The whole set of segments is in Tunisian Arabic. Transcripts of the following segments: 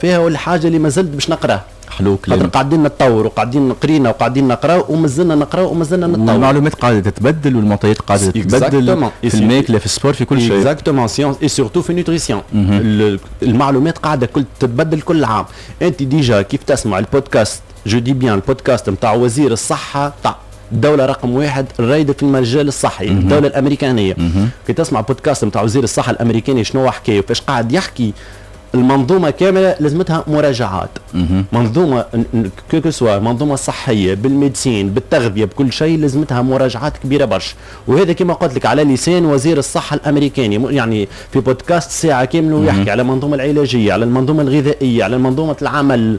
فيها والحاجة اللي ما زلت باش نقراها. حلو كلام. خاطر قاعدين نتطور وقاعدين قرينا وقاعدين نقراو ومازلنا نقراو ومازلنا نتطور. والمعلومات قاعدة تتبدل والمعطيات قاعدة تتبدل في الماكله، في ال sport، في كل شيء. exactement، science et surtout في nutrition المعلومات قاعدة كل تتبدل كل عام. انت déjà كيف تسمع ال podcast، je dis bien ال podcast نتاع وزير الصحة تاع الدولة رقم 1 الرايدة في المجال الصحي، الدولة الأمريكانية، كي تسمع بودكاست نتاع وزير الصحة الأمريكاني شنو حكى وفاش قاعد يحكي، المنظومة كاملة لازمتها مراجعات. منظومة que ce soit منظومة صحية بال médecine، بالتغذيه، بكل شيء، لازمتها مراجعات كبيرة برشا. وهذا كما قلت لك على لسان وزير الصحة الامريكاني، يعني في بودكاست ساعة كاملة ويحكي على المنظومة العلاجيه، على المنظومة الغذائيه، على منظومة العمل.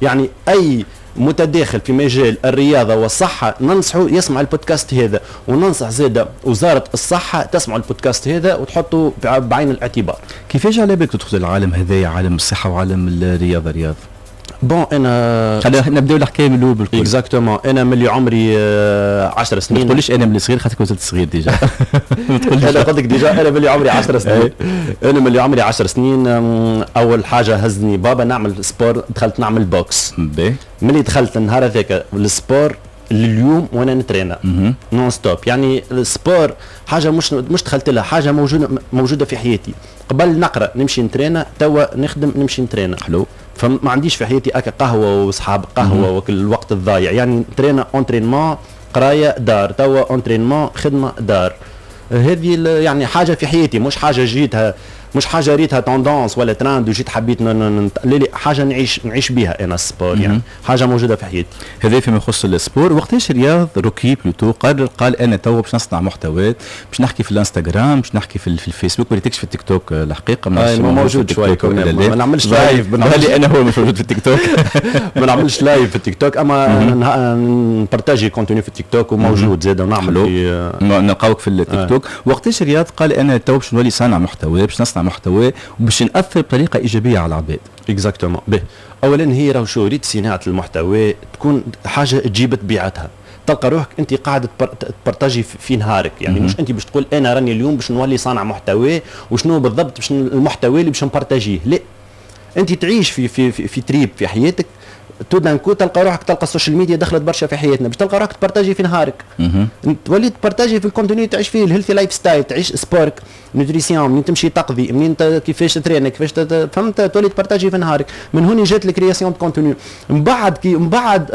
يعني اي متداخل في مجال الرياضة والصحة ننصحه يسمع البودكاست هذا، وننصح زاده وزارة الصحة تسمع البودكاست هذا وتحطه بعين الاعتبار. كيفاش على بالك تدخل العالم هذايا، عالم الصحة وعالم الرياضه، رياض؟ bon، انا خلينا نبداو الحكاية من الاول بالكل. exactement، انا ملي عمري 10 سنين. ما تقوليش انا ملي صغير، خاطر كنت صغير déjà. انا قلت لك déjà انا ملي عمري 10 سنين. انا ملي عمري 10 سنين اول حاجة هزني بابا نعمل sport، دخلت نعمل boxe. ملي دخلت النهار هذاك ال sport لليوم وانا نترينا non-stop. يعني ال sport حاجة مش دخلت لها، حاجة موجوده في حياتي. قبل نقرا نمشي نترينا، توا نخدم نمشي نترينا. فما عنديش في حياتي اكا قهوة وصحاب قهوة وكل الوقت الضايع. يعني ترينا، entraînement، قرايه، دار، توا entraînement، خدمه، دار. هذه يعني حاجة في حياتي، مش حاجة جيتها، مش حاجة ريتها tendance ولا ترند وجيت حبيت. لا لا، حاجة نعيش بها انا ال sport، يعني حاجة موجودة في حياتي. هذا فيما يخص ال sport. وقتاش رياض روكي plutôt قرر، قال انا تو باش نصنع محتويات، باش نحكي في الانستغرام، باش نحكي في الفيسبوك؟ ما ريتكش في التيك توك الحقيقه. ما موجود شوي، ما نعملش live. انا هو مش موجود في التيك توك. ما نعملش live في التيك توك، اما ن partager contenu في التيك توك وموجود زاد ونعمل في نلقاوك في التيك توك. وقتاش رياض قال انا تو باش نولي صانع محتوى، باش نصنع محتوى وباش ناثر بطريقة ايجابية على العباد؟ exactement. به، اولا هي راهو شو ريت، صناعة المحتوى تكون حاجة تجيب طبيعتها، تلقى روحك انت قاعد ت partager في نهارك. يعني مش انت باش تقول انا راني اليوم باش نولي صانع محتوى وشنو بالضبط باش المحتوى اللي باش ن partager ه. لا، انت تعيش في trip في حياتك، tout d'un coup تلقى روحك، تلقى ال social media دخلت برشا في حياتنا، باش تلقى روحك ت partager في نهارك، تولي ت partager في ال contenu تعيش فيه، ال healthy lifestyle، تعيش sport، nutrition، منين تمشي تقضي، منين كيفاش ترينا، كيفاش، فهمت؟ تولي ت partager في نهارك. من هون جات ال création de contenu. من بعد كي من بعد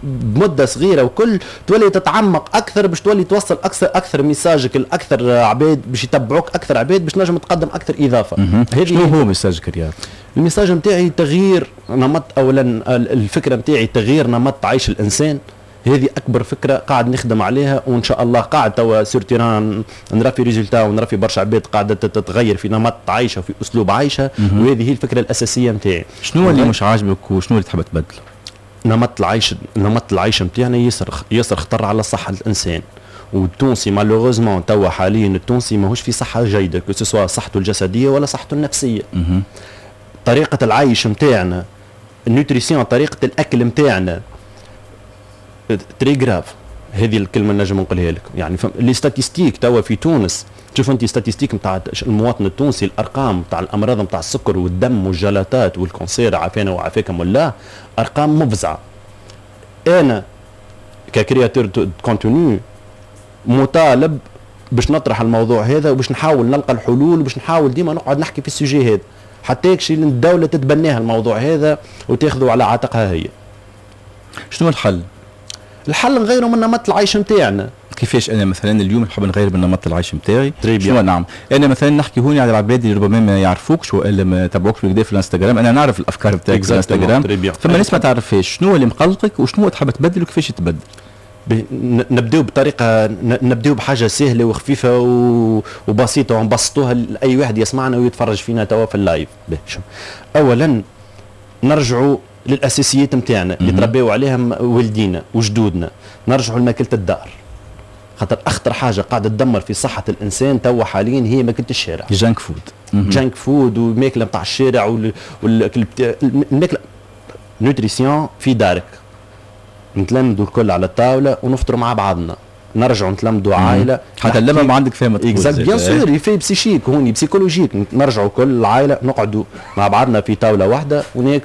بمدة صغيرة وكل تولي تتعمق اكثر باش تولي توصل اكثر اكثر message ك لاكثر عباد، باش يتبعوك اكثر عباد، باش نجم تقدم اكثر اضافه. هذه شنو هو message ك رياض؟ ال message نتاعي تغيير نمط. اولا الفكرة نتاعي تغيير نمط عيش الانسان. هذه اكبر فكرة قاعد نخدم عليها، وان شاء الله قاعد توا sur terrain نرى في résultats ونرى في برشا عباد قاعدة تتغير في نمط عيشها وفي اسلوب عيشها، وهذه هي الفكرة الاساسية نتاعي. شنو اللي مش عاجبك وشنو اللي تحب تبدله؟ نمط العيش، نمط العيش نتاعنا ياسر ياسر خطر على صحة الانسان. والتونسي malheureusement توا حاليا التونسي ماهوش في صحة جيده، que ce soit صحته الجسدية ولا صحته النفسيه. طريقه العيش نتاعنا، ال nutrition، طريقه الاكل نتاعنا très grave. هذه الكلمة نجم نقولها لك. يعني les statistiques توا في تونس، تشوف انت statistiques نتاع المواطن التونسي، الارقام نتاع الامراض نتاع السكر والدم والجلطات وال cancer، عافانا وعافاكم الله، ارقام مفزعه. انا ك créateur de contenu مطالب باش نطرح الموضوع هذا وباش نحاول نلقى الحلول وباش نحاول ديما نقعد نحكي في ال sujet هذا حتى يكشي الدولة تتبناها الموضوع هذا وتاخذه على عاتقها هي. شنو الحل؟ الحل نغيروا من نمط العيش نتاعنا. كيفاش؟ انا مثلا اليوم نحب نغير من نمط العيش نتاعي، شنو نعمل؟ انا مثلا نحكي هوني على العباد اللي ربما ما يعرفوكش والا ما تبعوكش بالكدا في الانستغرام. انا نعرف الافكار بتاعك في الانستغرام، فما ناس ما تعرفهاش. شنو اللي مقلقك وشنو تحب تبدل وكيفاش تبدل؟ نبداو بطريقه، نبداو بحاجة سهلة وخفيفة وبسيطة ونبسطوها لاي واحد يسمعنا ويتفرج فينا توا في ال live. اولا نرجعوا للاساسيات نتاعنا اللي تربيوا عليها والدينا وجدودنا، نرجعوا لماكله الدار، خاطر اخطر حاجة قاعدة تدمر في صحة الانسان توا حاليا هي ماكله الشارع. junk food. junk food والماكله نتاع الشارع والماكله، nutrition في دارك، نتلمدوا الكل على الطاولة ونفطروا مع بعضنا، نرجعوا نتلمدوا عائله. حتى اللمة ما عندك فيها. exact، bien sûr، effet psychique هوني، psychologique. نرجعوا كل العائلة نقعدوا مع بعضنا في طاولة واحدة وناكل.